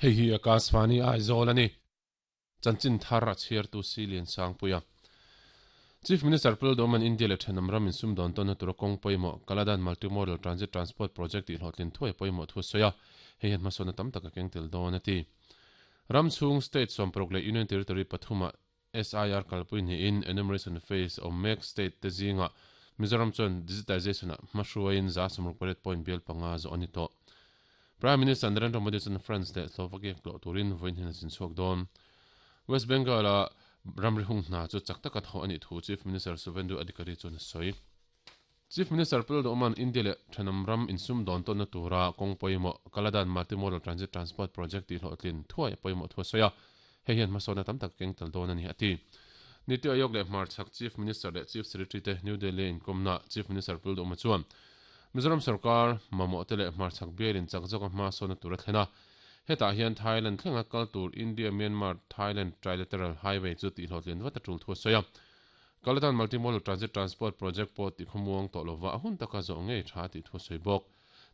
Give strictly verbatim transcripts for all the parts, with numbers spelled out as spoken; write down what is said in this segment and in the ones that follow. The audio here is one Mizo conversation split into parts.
Hei hi Akashvani Aizawl a ni. Chanchin thar a chhiartu Silian Sangpuia. Chief Minister Pu Lalduhoma'n India leh thenawm ram insum dawn tawnna tura kawng pawimawh Kaladan Multimodal Transit Transport Project tih hlawhtlin thuai pawimawh thu a sawi a, hei hian hmasawnna tam tak a keng tel dawn a ti. Ram chhung state sawmparuk leh Union Territory pathumah S I R kalpui niin enumeration phase awm mek state te zingah Mizoram chuan digitization-ah hmahruaiin za sawmruk pariat point bial panga zawh a ni tawh. Prime Minister Narendra Modi chuan France leh Slovakia tlawh turin vawiin hian a zin chhuak dawn. West Bengal-a ramri hung hna chu chak taka thawh a nih thu Chief Minister Suvendu Adhikari chuan a sawi. Chief Minister Pu Lalduhoma'n India leh thenawm ram insum dawn tawnna tura kawng pawimawh Kaladan Multimodal Transit Transport Project tih hlawhtlin thuai a pawimawh thu a sawi a, hei hian hmasawnna tam tak a keng tel dawn a ni, a ti. Niti Aayog leh Hmarchhak Chief Minister leh Chief Secretary te New Delhi-a inkawmnaah Chief Minister Pu Lalduhoma chuan Mizoram sorkar mamawhte leh hmarchhak bialin chak zawka hmasawnna tur a thlen a. Hetah hian Thailand thlenga kal tur India-Myanmar-Thailand Trilateral Highway chu tihhlawhtlin vat a tul thu a sawi a. Kaladan Multimodal Transit Transport Project pawh tihkhawmuang tawh lova a hun taka zawh ngei tha tih thu a sawi bawk.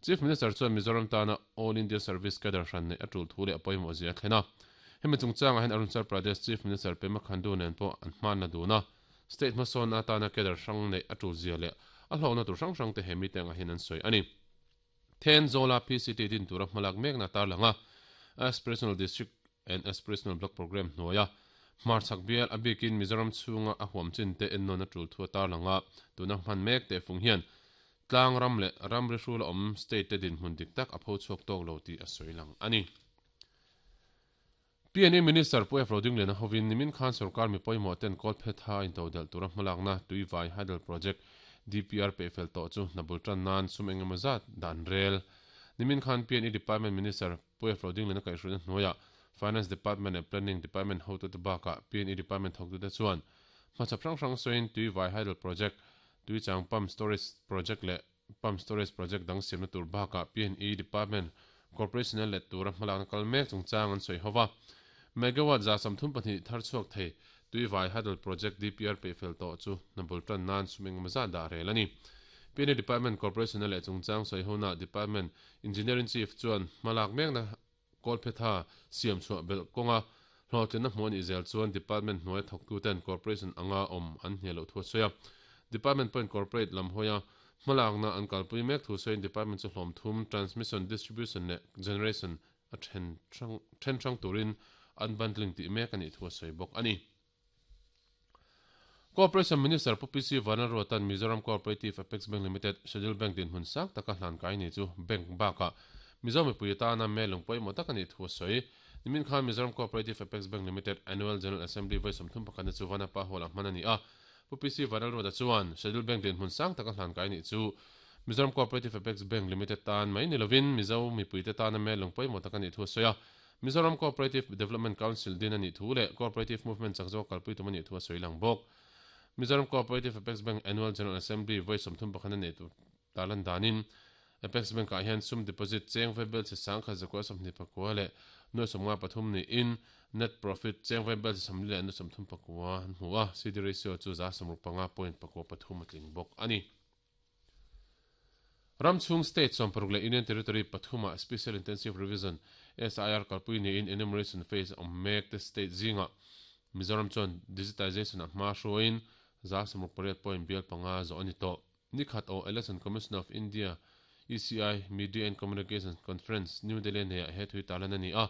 Chief Minister chuan Mizoram tana All India Service Cadre hran neih a tul thu leh a pawimawh zia a thlen a. Hemi chungchangah hian Arunachal Pradesh Chief Minister Pema Khandu nen pawh an hmanna dun a. State hmasawn atana cadre hrang neih a tul zia leh a hlawkna tur hrang hrang te he mite angah hian an sawi a ni. Thenzawl-a P C T din tura hmalak mekna tarlang a, Aspirational District and Aspirational Block Programme hnuaia hmarchhak bial a bikin Mizoram chhunga a huam chin te ennawn a tul thu a tarlang a, tuna hman mek teh fung hian tlang ram leh ramri hrul a awm state te dinhmun dik tak a pho chhuak tawk lo tih a sawi lang a ni. P N E Minister Pu F Rodingliana hovin nimin khan sorkar mi pawimawh ten Kawlphetha intodelh tura hmalakna Tuivai Hydel Project D P R pehfel tawh chu hna bul tan nan sum engemaw zat dan rel. Nimin khan P N E Department Minister Pu F Rodingliana kaihhruaina hnuaiah Finance Department leh Planning Department hotute bakah P N E Department thawktute chuan hmachhap hrang hrang sawiin Tuivai Hydel Project, Tuichang Pump Storage Project leh Pump Storage Project dang siamna tur bakah P N E Department Corporation-a let tura hmalakna kal mek chungchang an sawi ho va. Megawatt za sawmthum pahnih thar chhuak thei Tuivai Hydel Project D P R peihfel tawh chu hna bul tan nan sum engemaw zat dah rel a ni. P N E Department Corporation-a leh chungchang sawi hona Department Engineering Chief chuan hmalak mekna Kawlphetha siam chhuah belh kawnga hlawhtlinna hmuh a nih zel chuan Department hnuaia thawktuten Corporation anga awm an hnial loh thu a sawi a. Department pawhin Corporate lam hawia hmalakna an kalpui mek thu sawiin Department chu hlawm thum, Transmission, Distribution leh Generation a then hrang then hrang turin unbundling tih mek a nih thu a sawi bawk a ni. Cooperation Minister Pu P C Vanlalruata'n Mizoram Cooperative Apex Bank Limited, Schedule Bank dinhmun sang taka hlan kai ni chu bank bakah Mizo mipui atana melung pawimawh tak a nih thu a sawi. Nimin khan Mizoram Cooperative Apex Bank Limited Annual General Assembly vawi sawmthum pakhatna chu Vanapa Hall-ah hman a ni a. Pu P C Vanlalruata chuan Schedule Bank dinhmun sang taka hlan kai nih chu Mizoram Cooperative Apex Bank Limited tan mai ni lovin Mizo mipuite tana melung pawimawh tak a nih thu a sawi a. Mizoram Cooperative Development Council din a nih thu leh Cooperative Movement chak zawk kalpui tum a nih thu a sawi lang bawk. Mizoram Cooperative Apex Bank Annual General Assembly vawi sawmthum pakhat a nei tur tarlan danin Apex Bank-ah hian sum deposit cheng vaibel chi sang khat zakua sawmhnih pakua leh nuai sawmnga pathum niin net profit cheng vaibel chi sawmli leh nuai sawmthum pakua an hmu a, C D ratio chu za sawmruk panga point pakua pathum a tling bawk a ni. Ram chhung state sawmparuk leh Union Territory pathumah Special Intensive Revision, S I R, kalpui niin enumeration phase awm mek te state zingah Mizoram chuan digitization-ah hma hruaiin za sawmruk pariat point bial panga zawh a ni tawh. Nikhat aw Election Commission of India, E C I, Media and Communications Conference, New Delhi neiah he thui tarlan a ni a.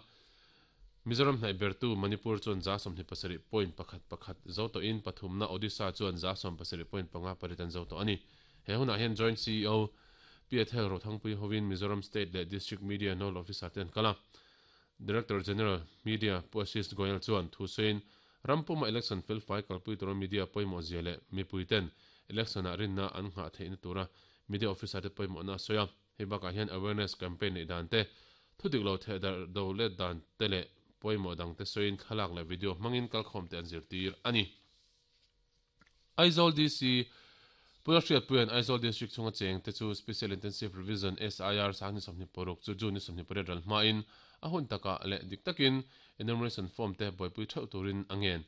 Mizoram hnaih bertu Manipur chuan za sawmhnih pasarih point pakhat pakhat zo tawhin pathumna Odisha chuan za sawm pasarih point panga pariat an zo tawh a ni. He hunah hian Joint C E O Pi Ethel Rothangpui hovin Mizoram State leh District Media Nodal Officer te an kal a. Director General, Media, Pu Ashish Goyal chuan thu sawiin rampuma election felfai kalpui tura media pawimawh zia leh mipuiten election-ah rinna an nghah theihna tura media officer te pawimawhna a sawi a. Hei bakah hian awareness campaign neih dan te, thudik lo theh darh do let dan te leh pawimawh dang te sawiin thlalak leh video hmangin kalkhawm te an zirtir a ni. Aizawl D C, Pu Hriatpuia'n Aizawl District chhunga cheng te chu Special Intensive Revision, S I R, Sanghni sawmhnih paruk chu June ni sawmhnih pariat ral hmain a hun takah leh dik takin enumeration form te buaipui theuh turin a ngen.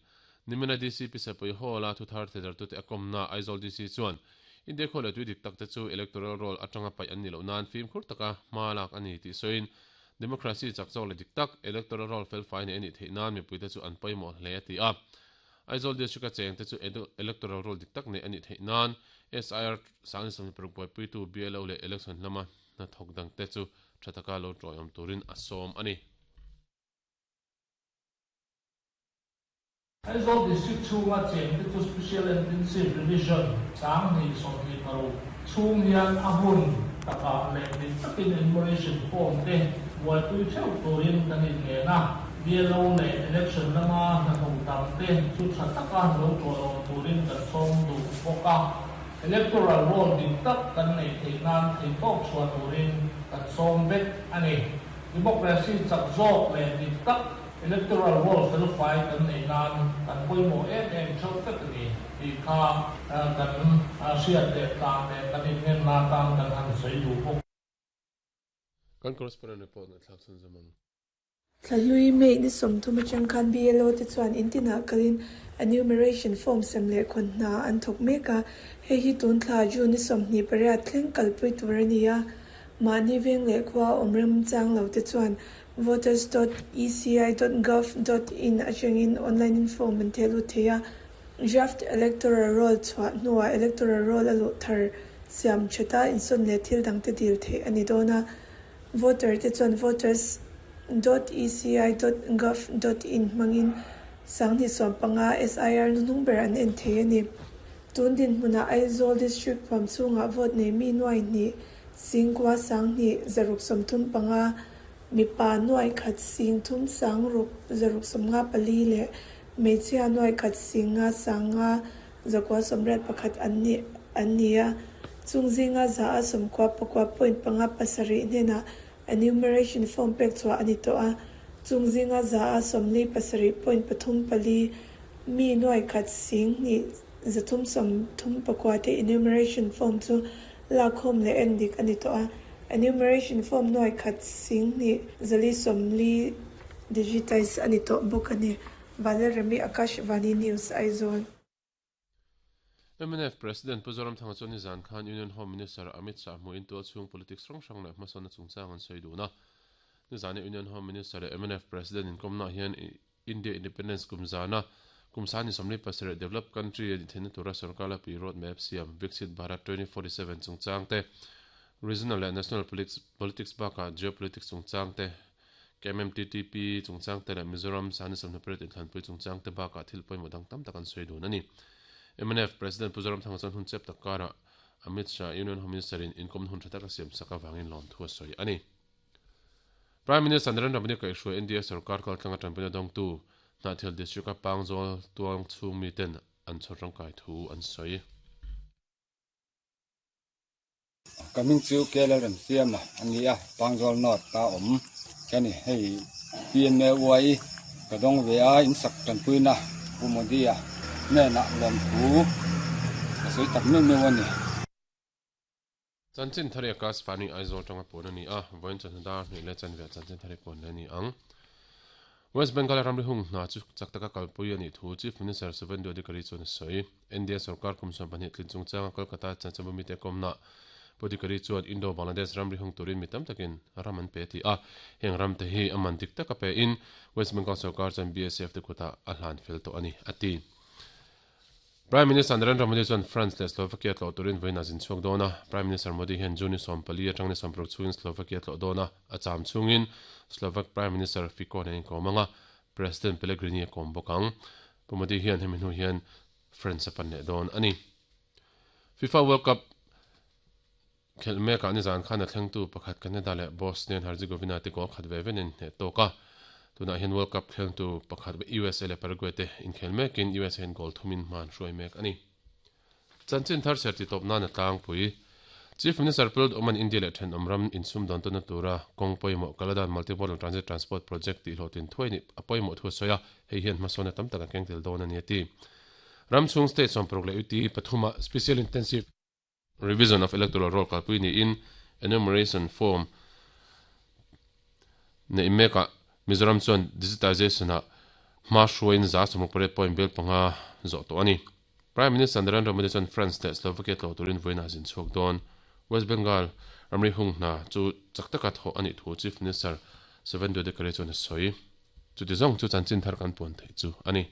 Nimina D C P Sepui Hall-a thuthar thehdarhtute a kawmna Aizawl D C chuan India khaw leh tui dik tak te chu electoral roll atanga paih an nih loh nan fimkhur taka hma lak a ni tih sawiin Democracy chak zawk leh dik tak electoral roll fel fai nei anih theih nan mipuite chu an pawimawh hle a ti a. Aizawl district a cheng te chu electoral roll dik tak nei anih theih nan S I R sangni sawmhnih paruk buaipuitu B L O leh election lama hnathawk dangte chu tha taka lo tawiawm turin a sawm a ni. Aizawl district chhunga cheng te chu special intensive revision sanghnih sawmhnih paruk chhung hian a hun taka leh dik takin enumeration form te buaipui theuh turin kan inngen a. B L O leh election lama hnathawk dangte chu tha taka lo tawiawm turin kan sawm duh bawk a. Electoral roll dik tak kan nei theih nan thei tawk chhuah turin kan sawm vek a ni. Democracy chak zawk leh dik tak electoral roll fel fai kan nei nan kan pawimawh em em theuh vek a ni tih kha kan hriat leh tlang leh kan inngen na tan kan han sawi duh bawk. Kan correspondent report na thlak chhun zawm ang. Thlahlui May ni sawmthum atang khan B L O te chuan intinah kalin enumeration form sem leh khawn hna an thawk mek a. Hei hi tun thla June ni sawmhnih pariat thleng kalpui tur a ni a. Mahni veng leh khua awm rem chang lo te chuan voters dot e c i dot gov dot in atangin online in form an theh lut thei a. Draft electoral roll chhuah hnuah electoral roll a luh thar siam thata insawn leh thil dangte dil theih a ni dawn a. Voter te chuan voters dot e c i dot gov dot in hmangin sanghnih sawm panga S I R nuhnung ber an en thei a ni. Tun din hmunah Aizawl district huam chhungah vote nei mi nuai hnih singkua sanghnih zaruk sawmthum panga mipa nuai khat sing thum sangruk zaruk sawmnga pali leh hmeichhia nuai khat singa sanga zakua sawmriat pakhat an ni an ni a. Chungzinga za a sawmkua pakua point panga pasarih hnenah enumeration form pek chhuah a ni tawh a. Chungzinga za a sawmli pasarih point pathum pali mi nuai khat sing hnih zathum sawmthum pakua te enumeration form chu lakhawm leh en dik a ni tawh a. Enumeration form nuai khat sing hnih zali sawmli digitize a ni tawh bawk a ni. Valerami Akash Vani News Aizawl. M N F President Pu Zoramthanga chuan nizan khan Union Home Minister Amit Shah hmuin tual chhung politics hrang hrang leh hmasawnna chungchang an sawi dun a. Nizani Union Home Minister leh M N F President inkomna hian India Independence kumzana kumsani sawmli pasarih developed country ani theihna tura sarkar lapi road map siam Viksit Bharat twenty forty-seven chungchang te regional leh national politics politics bakah geopolitics chungchang te K M M T T P chungchang te leh Mizoram sani sawmhnih pariat inthlanpui chungchang te bakah thil pawimawh dang tam tak an sawi dun a ni. M N F President Pu Zoramthanga chuan hun chep takara Amit Shah Union Home Minister in inkom hun tha taka siam saka wangin lawm thu a sawi a ni. Prime Minister Narendra Modi kaihhruai India sarkar kaltlanga tanpuina dawngtu Hnahthial district a Pangzawl tuang chhung mi ten an chhawr tangkai thu an sawi. Kamin chu K L rem siam a ani a Pangzawl North ta awm kani hei P M A Y ka dawng ve a in sak tanpuina Pu Modi a nena lawm thu ka sawi tak meuh meuh a ni. Chanchin thari Akash Vani Aizawl tanga pawn a ni a, vawiin chawhnu dar hnih leh chanve chanchin thari pawn le ni ang. West Bengal ramri hung hna chu chak taka kalpui a nih thu Chief Minister Suvendu Adhikari chuan a sawi. India sarkar kum sawm pahnih tlin chungchanga Kolkata chanchanbumi te kawmna Pu Adhikari chuan Indo Bangladesh ramri hung turin mi tam takin ram an pe ti a. Heng ram te hi a man dik taka pe in West Bengal sarkar chuan B S F te kutah a hlan fel tawh a ni a ti. Prime Minister Narendra Modi chuan France leh Slovakia tlawh turin vawiin a zin chhuak dawn a. Prime Minister Modi hian June ni sawm pali atang ni sawm paruk chhungin Slovakia tlawh dawn a. A cham chhungin Slovak Prime Minister Fico nen inkawm anga President Pellegrini a kawm bawk ang. Pu Modi hian hemi hnu hian France a pan leh dawn a ni. FIFA World Cup khelh mekah nizan khan a thlengtu pakhat Canada leh Bosnia and Herzegovina te goal khat ve venin hneh tawk a. Tunah hian World Cup thlengtu pakhat U S A leh Paraguay te inkhel mekin U S A in goal thumin hman hruai mek a ni. Chanchin thar ser ti tawp nan a tlangpui. Chief Minister Pu Oman India leh thenawm ram insum dawn tawhna tura kawng pawimawh Kaladan Multimodal Transit Transport Project tih hlawhtlin thuai ni a pawimawh thu a sawi a, hei hian hmasawnna tam tak a keng tel dawn a ni a ti. Ram chhung state sawm paruk leh U T pathuma Special Intensive Revision of Electoral Roll kalpui niin enumeration form nei mekah Mizoram chuan digitization a hma hruaiin za sawmruk pariat point bel panga zawh tawh a ni. Prime Minister Narendra Modi chuan France leh Slovakia tlawh turin vawiin a zin chhuak dawn. West Bengal ramri hung hna chu chak taka thawh a nih thu Chief Minister Suvendu Adhikari chuan a sawi. Chuti zawng chu chanchin thar kan puan theih chu a ni.